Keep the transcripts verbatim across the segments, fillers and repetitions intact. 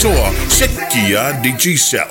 Faapitoa Sekia Digicel.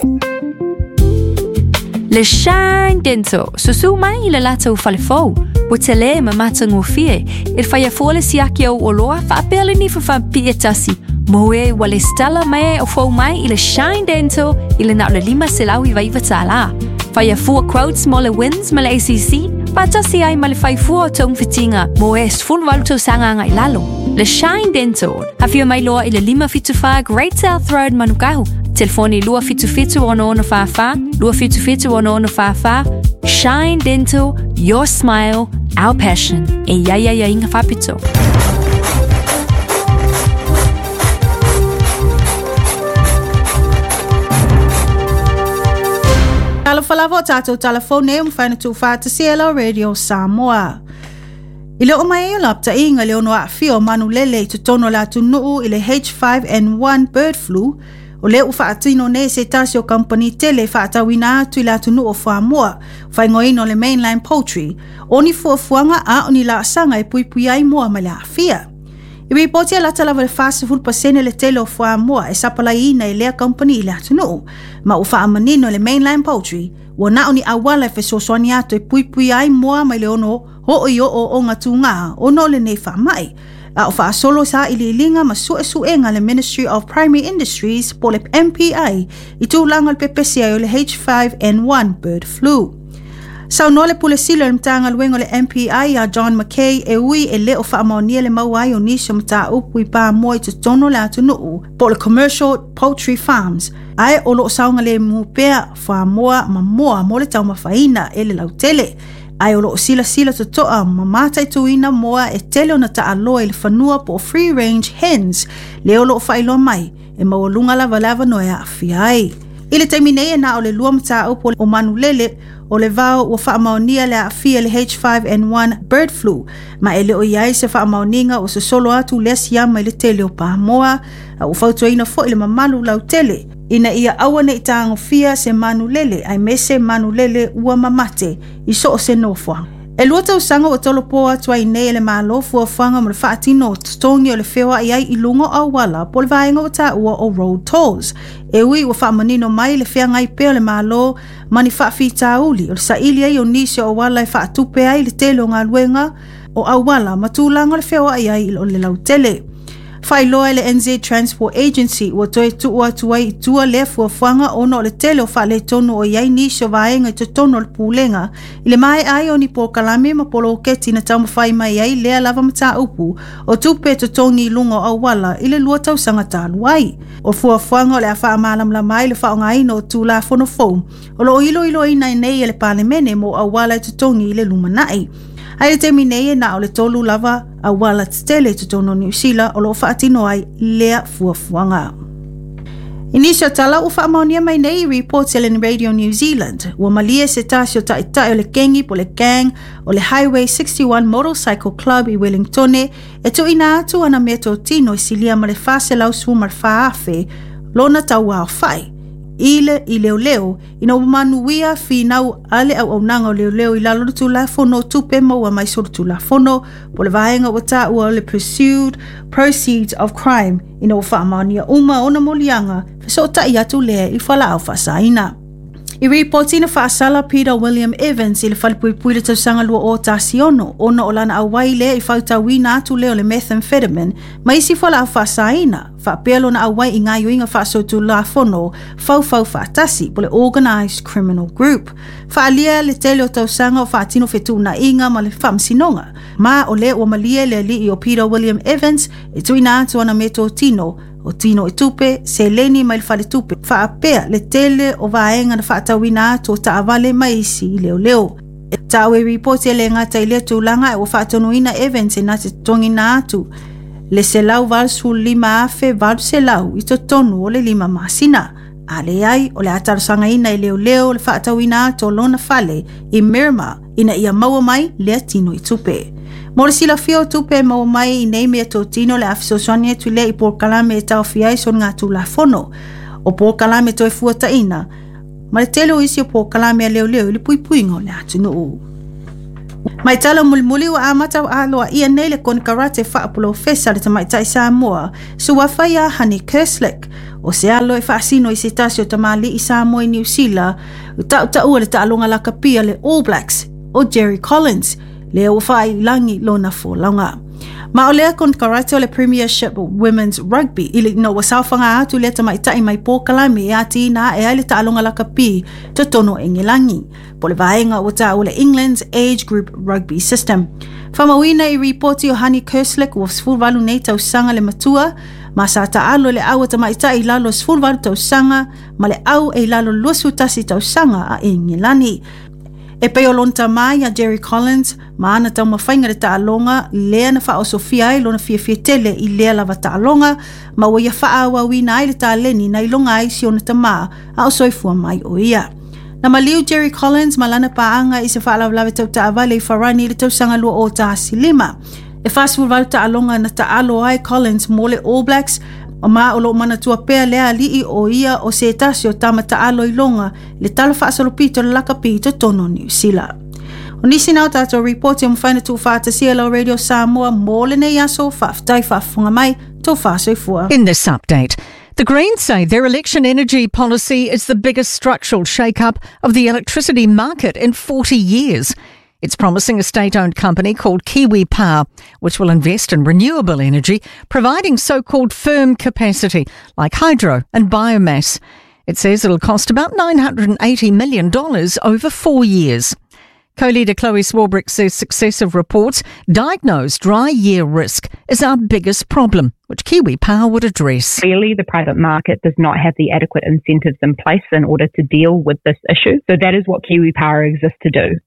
Le Shine Dental, susu mai i le latou falefou, ua tele ma matagofie, e faia fua le siaki au oloa faapea le nifa faapipii e tasi, mo e ua lesitala mai o fou mai i le Shine Dental i le na o le lima selau iva iva tālā. Faia fua quotes mo le WINZ ma le A C C, faatasi ai ma le faifua o togafitiga mo e sefulu valu tausaga agai lalo. Le Shine Dental, afio mai loa i le lima fitu fa Great South Road Manukau. Telefoni lua fitu fitu ono ono fa fa, lua fitu fitu ono ono fa fa. Shine Dental, your smile, our passion. E ia ia ia inga fapito. Talofa lava o tātou telefone o mawhaina tūwhata C L O Radio Samoa. I le o mai e lapta inga le ono aafia o manulele i totonu o le atunuu i le H five N one bird flu, o le u whaatino nei se tasi o kampani tele whaatawina atu i le atunuu o Whamoa, whaingoina o le Mainland Poultry, o ni fuafuaga a o ni laasaga e puipui ai moa mai le aafia. I ripoti a lata lava le whasefulu pasene le tele o Whamoa e sapalaiina e lea kampani i le atunuu, ma u whaamanino le Mainland Poultry, ua nao ni awala e fesoasoani atu e puipui ai moa mai le ono ho i o o o ngā ono le nei whaamai. A o whaasolo sa iliilinga ma suesuenga le Ministry of Primary Industries po le M P I i tūlanga le pepesi ai o le H five N one bird flu. Sau no le pule silo le mtanga luengo le M P I a John McKay e ui e le o whaamaonia le mauai o nisi o mtaa upu i pā moa i totonu le atunuu po le Commercial Poultry Farms ae o loo saunga le mupea whamoa ma moa mo le taumawhaina e le lautele. Ai o loo sila sila totoa ma mataituina moa e tele ona taaloa i le fanua po free range hens le o loo whailoa mai e maualunga lava lava no e aafia ai. I le taimi nei e na o le lua mataupu o manulele o le vao ua whaamaonia le aafia le H five N one bird flu ma e le o iai se whaamaoninga o sosolo atu lea siama i le tele o Pamoa a ua fautuaina foi le mamalu lautele ina ia aua nei tāngofia se manulele ai mese manulele ua mamate i so o se nofoa. E lua tausaga ua tolopo atu ai nei e le malo fuafuaga mo le faatino o totogi o le feoai ai i luga o auala po le vaega o taua o road tolls. E ui ua faamanino mai le feagai pea o le malo ma ni faafitauli o le saili ai o nisi o auala e faatupe ai le tele o galuega o auala ma tulaga o le feoai ai o le lautele. Whailoa e le N Z Transport Agency ua toe tuu atu ai i tua lea fuafuaga ona o le tele o faaletonu o iai nisi o vaega i totonu o le pulega i le mae ai o ni polokalame ma poloketi na taumafai mai ai lea lava mataupu o tupe totogi i luga o auala i le lua tausaga talu ai. O fuafuaga o le a faamalamalama ai le faaaogaina o Tulafono fou o loo iloiloina ai nei e le Palemene mo auala e totogi i le lumanai. Ai le taimi nei e na o le tolu lava auala tetele i totonu o Niu Sila o loo faatino ai lea fuafuaga. I nisi o tala ua faamaonia mai nei i report e le Radio New Zealand. Ua malie se tasi o taitai o le kengi po le gang o le Highway sixty-one Motorcycle Club i Wellingtone e tuuina atu ana mea totino i silia ma le whaselau sefulu ma le fa afe lona tauao whai. I le i leo leo ina ua manuia finau a le auaunaga o leoleo i lalo le Tulafono Tupe Maua mai so le Tulafono po le vaega ua taua o le Pursued Proceeds of Crime ina ua faamaonia uma ona moliaga fesootai atu lea i falaau faasaina. I ripoti na faasala Peter William Evans i le falepuipui le tausaga lua o tasi ono ona o lana auai lea i fautauina atu lea o le methamphetamine ma isi falaau faasaina faapea lona auai i gaioiga faasotulafono faufau faatasi po le Organised Criminal Group. Faalia le tele o tausaga o faatino fetuunaiga ma le faamasinoga ma o lea ua malie le alii o Peter William Evans e tuuina atu ana metotino o tino i tupe, seleni mai le faletupe, faapea le tele o vaega na faatauina atu o taavale mai isi i leoleo. E tau e ripoti e le ngata i lea tulaga e ua faatonuina Evans e na te togina atu le selau valusefulu lima afe valu selau i totonu o le lima masina. A leai o le a talosagaina i leoleo le faatauina atu o lona fale i Miramar ina ia maua mai lea tino i tupe. Mo le silafia o tupe maua mai i nei mea totino le a fesoasoani atu lea i polokalame e taofia ai sona Tulafono. O polokalame toe fuataina ma le tele o isi o polokalame a leoleo i le puipuiga o le atunuu. Mai tala mulimuli ua amata aloa ia nei le konekarate faapolofesa le tamaitai Samoa suafa ia Honey Kerslake. O se alo e faasino i se tasi o tamali'i Samoa i Niu Sila, o ta'uta'ua le ta'aloga lakapi a le All Blacks o Jerry Collins, lea ua fa'ailagi lona folauga. Ma o lea konekarate o le Premiership Women's Rugby i le ina ua saofaga atu lea tamaita'i mai pokalame e atiina a'e ai le ta'aloga lakapi totonu o Engelagi, po le vaega ua ta'ua le England's Age Group Rugby System. Faamauina i ripoti o Honey Kerslake ua sefuluvalu nei tausaga le matua, ma sa ta'alo i le au a tamaita'i i lalo o sefuluvalu tausaga ma le au e i lalo luasefulutasi tausaga a Engelani. E pei o lona tamā iā Jerry Collins ma ana taumafaiga le ta'aloga lea na fa'aosofia ai lona fiafia tele i lea lava ta'aloga, ma ua ia fa'aauauina ai le taleni na iloga ai si ona tamā a o soifua mai o ia. Na maliu Jerry Collins ma lana paaga i se fa'alavelave tauta'avale i Farani i le tausaga lua o tasi lima. E fasefuluvalu ta'aloga na ta'alo ai Collins mo le All Blacks, ma o lo'o manatua pea lea ali'i o ia o se tasi o tama ta'alo iloga le tala fa'asolopito le lakapi i totonu o Niu Sila. O nisi na o tātou ripoti o mafai ona tuufaatasia lau Radio Samoa mo lenei aso. Faafetai faafofoga mai, tou faasoifua. In this update, the Greens say their election energy policy is the biggest structural shake-up of the electricity market in forty years. It's promising a state-owned company called Kiwi Power, which will invest in renewable energy, providing so-called firm capacity like hydro and biomass. It says it'll cost about nine hundred eighty million dollars over four years. Co-leader Chloe Swarbrick says successive reports diagnose dry year risk is our biggest problem, which Kiwi Power would address. Clearly, the private market does not have the adequate incentives in place in order to deal with this issue. So that is what Kiwi Power exists to do.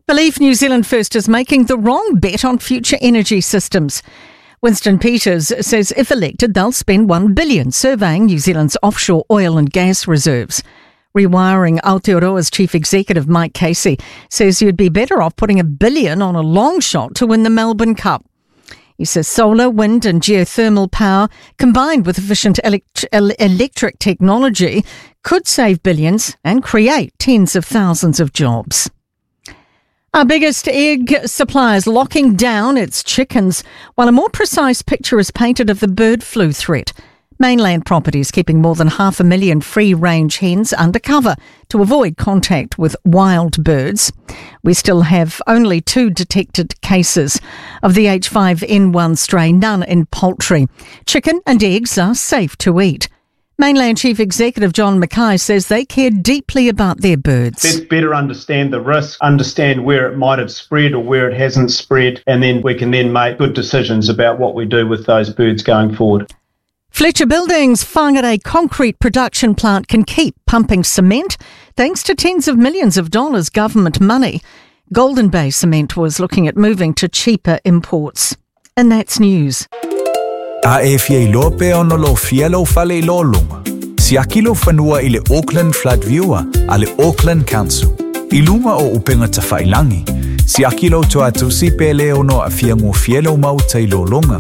Believe New Zealand First is making the wrong bet on future energy systems. Winston Peters says if elected, they'll spend one billion dollars surveying New Zealand's offshore oil and gas reserves. Rewiring Aotearoa's chief executive Mike Casey says you'd be better off putting a billion on a long shot to win the Melbourne Cup. He says solar, wind and geothermal power combined with efficient elect- electric technology could save billions and create tens of thousands of jobs. Our biggest egg supplier is locking down its chickens while a more precise picture is painted of the bird flu threat. Mainland Properties keeping more than half a million free-range hens under cover to avoid contact with wild birds. We still have only two detected cases of the H five N one strain, none in poultry. Chicken and eggs are safe to eat. Mainland Chief Executive John Mackay says they care deeply about their birds. Let's better understand the risk, understand where it might have spread or where it hasn't spread, and then we can then make good decisions about what we do with those birds going forward. Fletcher Building's Whangarei concrete production plant can keep pumping cement thanks to tens of millions of dollars government money. Golden Bay Cement was looking at moving to cheaper imports. And that's news. A e fia iloa pe ona lo fia lau fale i lo lunga. Siaki lo whanua i le Auckland Flood Viewer a le Auckland Council. I lunga o upenga tawhailangi. Siaki lo tuatusi pe le ono a fia ngō fia lau mauta i lo lunga.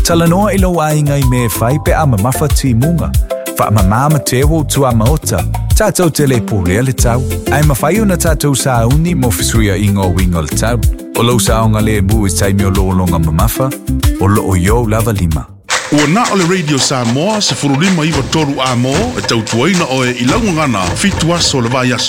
Talanoa i lau ainga i me whai pe ama mawha timunga. Wha mamama te wo tua maota. Tātou te le pōrea le tau. Ai mawhai ona tātou sāuni mo fisuia ingo wingo le tau. O lau saonga le mu i taimi o lo longa mamafa. O lo o yo lava lima. Ua na o le Radio Samoa se furulima iwa toru a mō e tautuaina oe i laungana fitu aso le vai aso.